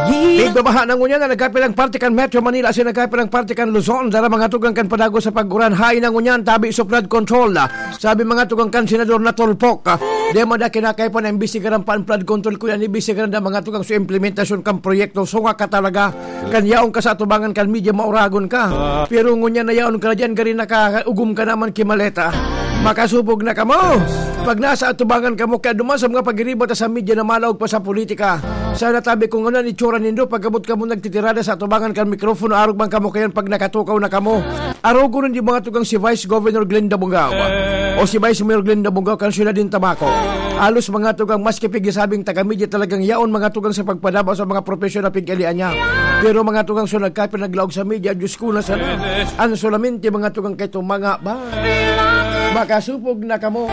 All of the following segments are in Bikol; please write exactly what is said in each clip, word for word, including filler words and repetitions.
Pigbabaha na ngunyan na nagkapilang parte kan Metro Manila, asin nagkapilang parte kan Luzon, dara mga tugang kan padago sa pag-uran, hain na ngunyan, tabi sa flood control. Sabi mga tugang kan Senador na tulpok. Di mo da kinakaipan na imbestigaran pa ang flood control, kuya, imbestigaran na mga tugang sa implementasyon kan proyekto. So nga ka talaga, kan yaon ka sa atubangan kan media, mauragon ka. Pero ngunyan na yaon ka na dyan, gari nakaugom ka naman kimaleta. Makasubog na kamo. Pag nasa atubangan kamo, kaya duman sa mga pagiriba ta sa media na malaog pa sa politika. Sana tabi kung ano ang itsura nindo, pagkabot kamo nagtitirada sa atubangan kan mikropono, arog man kamo kayan pag nakatukaw na kamo. Arogon nindo mga tugang si Vice Governor Glenda Bungao o si Vice Mayor Glenda Bungao kan Siyudad nin Tabaco. Halos mga tugang maski pigisabing taga-media talagang yaon mga tugang sa pagpadaba sa mga propesyon na pig-alian niya. Pero mga tugang so nagkapin naglaog sa media, Diyos ko na sana. Ang solamente mga tugang kay mga ba? Makasupog na kamo.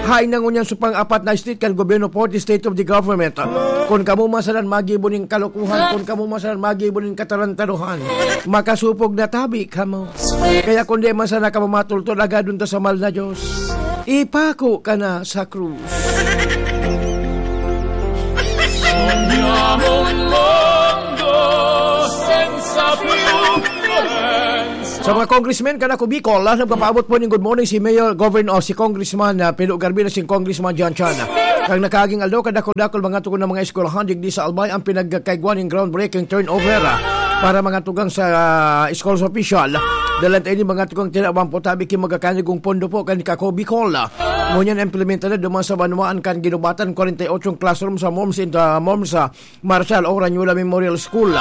Hain na ngunyan sa pang-apat na state kan gobyerno for the state of the government. Kung kamo masalan magibo ning kalokohan, kung kamo masalan magibo ning katarantaduhan, makasupog na tabi kamo. Kaya kung di man sana kamo matultol, agadon ta sa mahal na Diyos. Ipako ka na sa krus. Sa mga congressmen kan Ako Bicol, ah, nagpapaabot po ning good morning si Mayor Governor, si Congressman, ah, Pilo Garbina, si Congressman John Chan. Kang nakaaging aldaw, kadakol-dakol mga tugon ng mga eskwelahan digdi sa Albay ang pinagkaigwa ning groundbreaking turnover, ah, para mga tugang sa, ah, schools official. Dalan tayo ni mga tugang tinawan po tabi ki magakanigong pondo po kan Kako Bicol. Ngunyan implementado duman sa banwaan kan ginubatan forty-eight classroom sa MOMS in the MOMS, ah, Marshal Oranyula Memorial School.